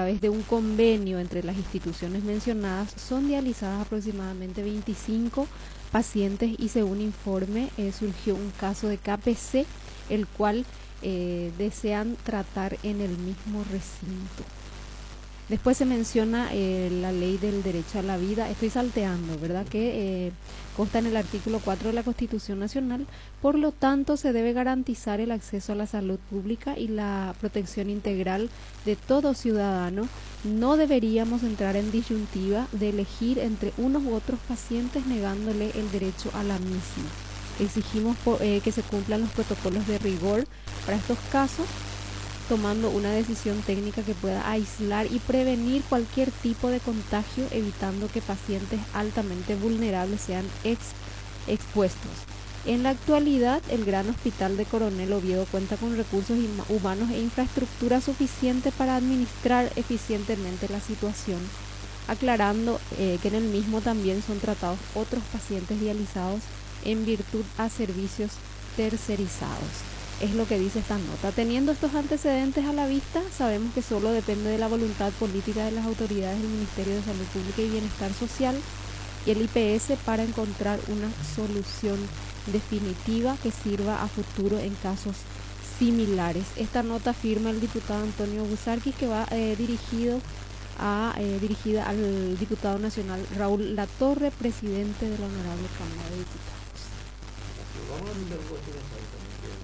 través de un convenio entre las instituciones mencionadas son dializadas aproximadamente 25 pacientes y según informe eh, surgió un caso de KPC, el cual eh, desean tratar en el mismo recinto. Después se menciona eh, la ley del derecho a la vida. Estoy salteando, ¿verdad? Que eh, consta en el artículo 4 de la Constitución Nacional. Por lo tanto, se debe garantizar el acceso a la salud pública y la protección integral de todo ciudadano. No deberíamos entrar en disyuntiva de elegir entre unos u otros pacientes negándole el derecho a la misma. Exigimos eh, que se cumplan los protocolos de rigor para estos casos tomando una decisión técnica que pueda aislar y prevenir cualquier tipo de contagio, evitando que pacientes altamente vulnerables sean expuestos. En la actualidad, el Gran Hospital de Coronel Oviedo cuenta con recursos humanos e infraestructura suficiente para administrar eficientemente la situación, aclarando eh, que en el mismo también son tratados otros pacientes dializados en virtud a servicios tercerizados. Es lo que dice esta nota. Teniendo estos antecedentes a la vista, sabemos que solo depende de la voluntad política de las autoridades del Ministerio de Salud Pública y Bienestar Social y el IPS para encontrar una solución definitiva que sirva a futuro en casos similares. Esta nota firma el diputado Antonio Buzarquis que va eh, dirigido a, eh, dirigida al diputado nacional Raúl Latorre, presidente de la Honorable Cámara de Diputados. Vamos a también que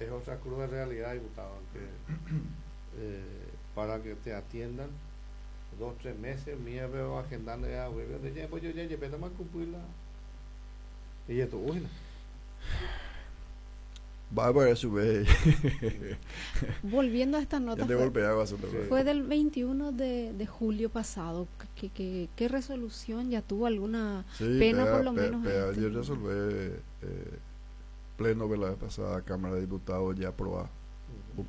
Es otra cruda realidad, diputado, que eh, para que te atiendan dos, tres meses, mía veo agendando ya, ya, pues yo ya llevé más cumplirla. Y esto, uy, Va a su vez. Volviendo a esta nota, fue, fue del 21 de, de julio pasado. ¿Qué, qué, qué resolución ya tuvo alguna sí, pena por lo menos? Pea, yo resolvé eh, pleno de la vez pasada Cámara de Diputados ya aprobó uh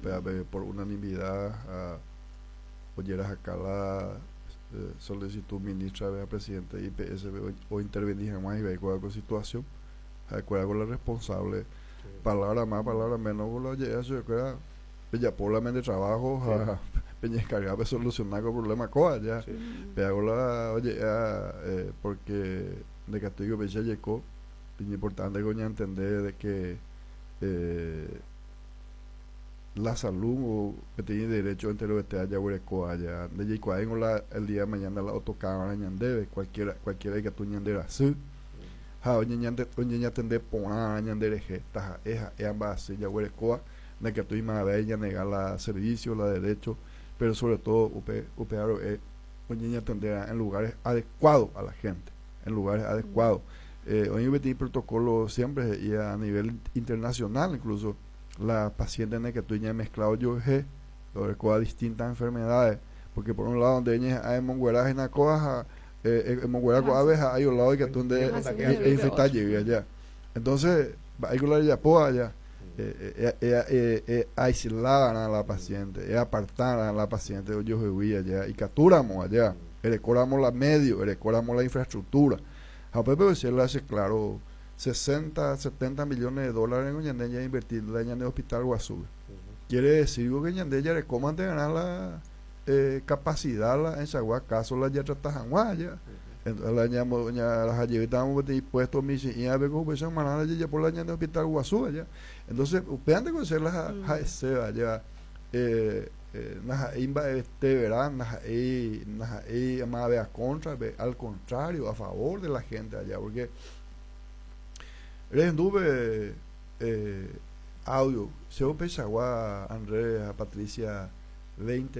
por unanimidad a oyeras acá la eh, solicitud ministra de presidente de IPS o, o intervenir más y ve con situación acuerdo con la responsable. Sí. Palabra más, palabra menos, lo llega eso yo Peña de trabajo, sí. Peña encargada de solucionar el problema coa ya. Sí. Pero la oye, eh, porque de castigo Peña llegó, importante coña entender de que eh, la salud o que tiene derecho entre los que allá allá de la el día de mañana la autocámara ñandebe cualquiera cualquiera que tú ñandera sí ha oye ñande oye ñatende porã ñanderehe taja eja ea así ya huerecoa de que tú y más negar la servicio la derecho pero sobre todo upe upe eh, oye ñatender en lugares adecuados a la gente en lugares adecuados eh, hoy en protocolo siempre y a nivel internacional incluso la paciente en el que tú ya mezclado yo g a distintas enfermedades porque por un lado donde ella hay mongueraje en la coja eh, eh, abeja hay un lado que tú donde infectar allá. Entonces hay que la ya allá eh, eh, eh, aislar a la paciente apartar a la paciente yo allá y capturamos allá recoramos la medio recoramos la infraestructura a Pepe se le hace claro 60, 70 millones de dólares en Ñandé ya invertir en el hospital Guazú. Quiere decir que Ñandé ya le de ganar la eh, capacidad la, en Chagua, caso la ya trata ya. Entonces la ñamo ña la hayevitamos dispuesto mi y a ver cómo se manada ya por la ñande hospital Guazú allá. Entonces, usted antes de conocer la ese allá eh imba este verán más a contra al contrario a favor de la gente allá porque anduve eh, audio se pensaba Andrea Patricia 20